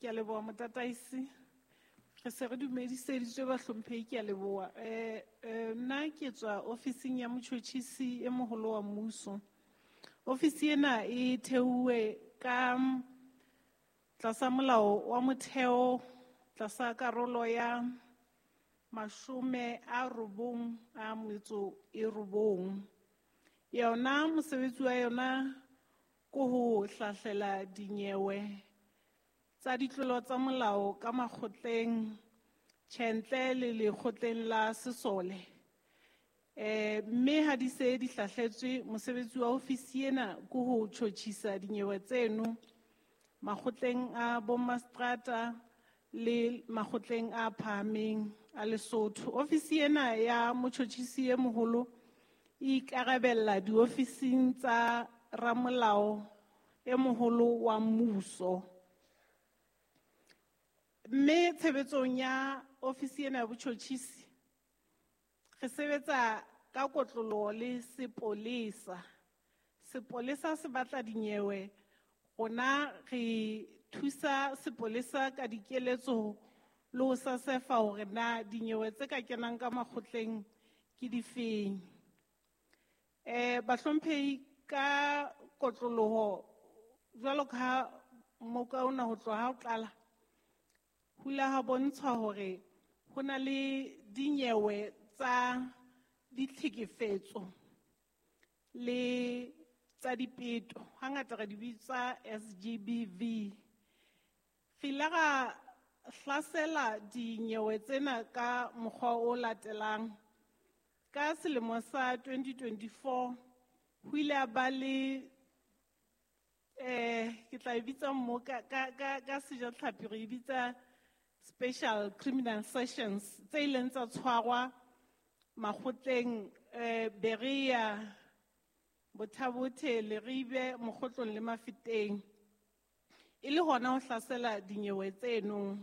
Ke a leboha motataisi. Re se re dumediseditswe bahlomphehi, ke a leboha. Nna ke tswa ofising ya motjhotjhisi e moholo wa mmuso. Ofisi ena e theuwe ka tlasa molao wa motheo, tlasa karolo ya 99. Yona mosebetsi wa yona ke ho hlahlela dinyewe tsa ditlolo tsa molao ka makgotleng, tjhentle le lekgotleng la sesole. Mme ha di se di hlahletswe, mosebetsi wa ofisi ena ke ho tjhotjhisa dinyewe tseno makgotleng a bommaseterata le makgotleng a phahameng a Lesotho. Ofisi ena ya motjhotjhisi e moholo e ikarabella diofising tsa ramolao e moholo wa mmuso. Mme tshebetsong ya ofisi ena ya botjhotjhisi re sebetsa ka kotloloho le sepolesa. Sepolesa se batla dinyewe, rona re thusa sepolesa ka dikeletso le ho sesefa hore na dinyewe tse ka kenang ka makgotleng ke difeng. Bahlomphehi, ka kotloloho jwalo ka ha moka ona ho tloha ha o qala, ho ile ha bontshwa hore ho na le dinyewe tsa ditlhekefetso le tsa dipeto, hangata re di bitsa SGBV. Re ile ra hlasela dinyewe tsena ka mokgwa o latelang. Ka selemo sa 2024 ho ile ha ba le, ke tla e bitsa mo ka sejatlhapi re e bitsa special criminal sessions tse ileng tsa tshwarwa makgotleng, Berea, Botha-Bothe, Leribe, Mokgotlong le Mafeteng, e le hona ho hlasela dinyewe tseno.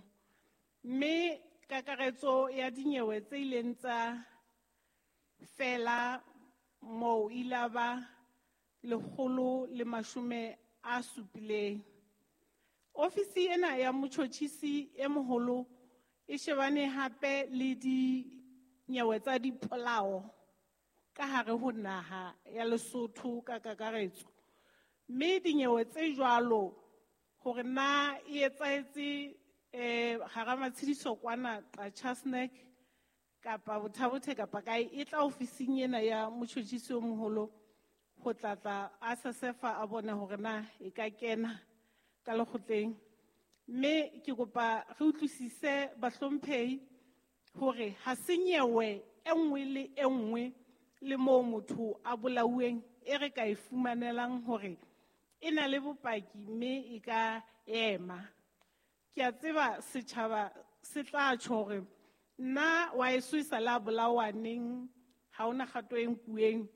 Mme kakaretso ya dinyewe tse ileng tsa fela moo ile ba 170. Ofisi ena ya motjhotjhisi e moholo e shebane hape le dinyewe tsa dipolao ka hare ho naha ya Lesotho ka kakaretso. Mme dinyewe tse jwalo hore na e etsahetse, hara Matshidiso kwana Qacha's Nek kapa Botha-Bothe kapa kae, e tla ofising ena ya motjhotjhisi o moholo ho tlatla a sesefa a bone hore na e ka kena ka lekgotleng. Mme ke kopa re utlwisise bahlomphehi hore ha se nyewe e nngwe le e nngwe le moo motho a bolauweng e re ka e fumanelang hore e na le bopaki mme e ka ema. Ke a tseba setjhaba se tla tjho hore nna wa eso e sa la bolawa neng, ha hona kgato e nkuweng.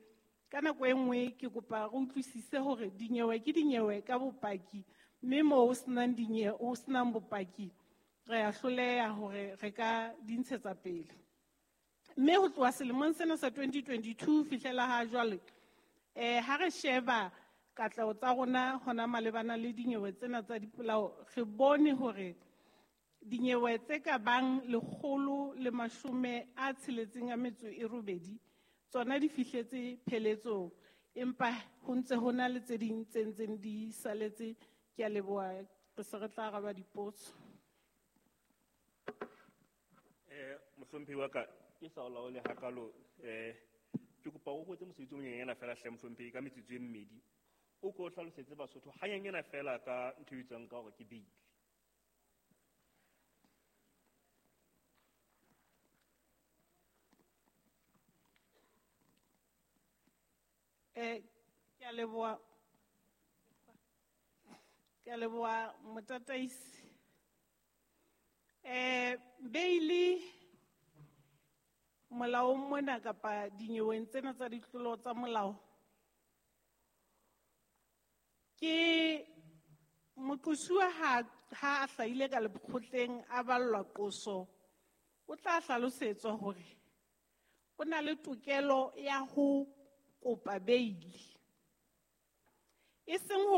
Ka nako e nngwe ke kopa re utlwisise hore dinyewe ke dinyewe ka bopaki, mme moo ho senang dinyewe, ho senang bopaki, re a hloleha hore re ka di ntshetsa pele. Mme ho tloha selemong sena sa 2022 fihlela ha jwale, ha re sheba katleho tsa rona hona malebana le dinyewe tsena tsa dipolao, re bone hore dinyewe tse ka bang 168 tsona di fihletse pheletsong, empa ho ntse ho na le tse ding tse ntseng di saletse. Ke a leboha, re se re tla araba dipotso. Mohlomphehi wa ka, ke sa o laole hakalo, ke kopa o kwetse mosebetsi o monyenyana fela hle mohlomphehi ka metsotso e mmedi. O ko hlalosetse Basotho hanyenyana fela ka ntho e bitswang ka hore ke beili. Ke a leboha. Ke a leboha motataisi. Beili molaong mona kapa dinyeweng tsena tsa ditlolo tsa molao ke moqosuwa ha a hlahile ka lekgotleng a ballwa qoso, o tla hlalosetswa hore o na le tokelo ya ho kopa beili, e seng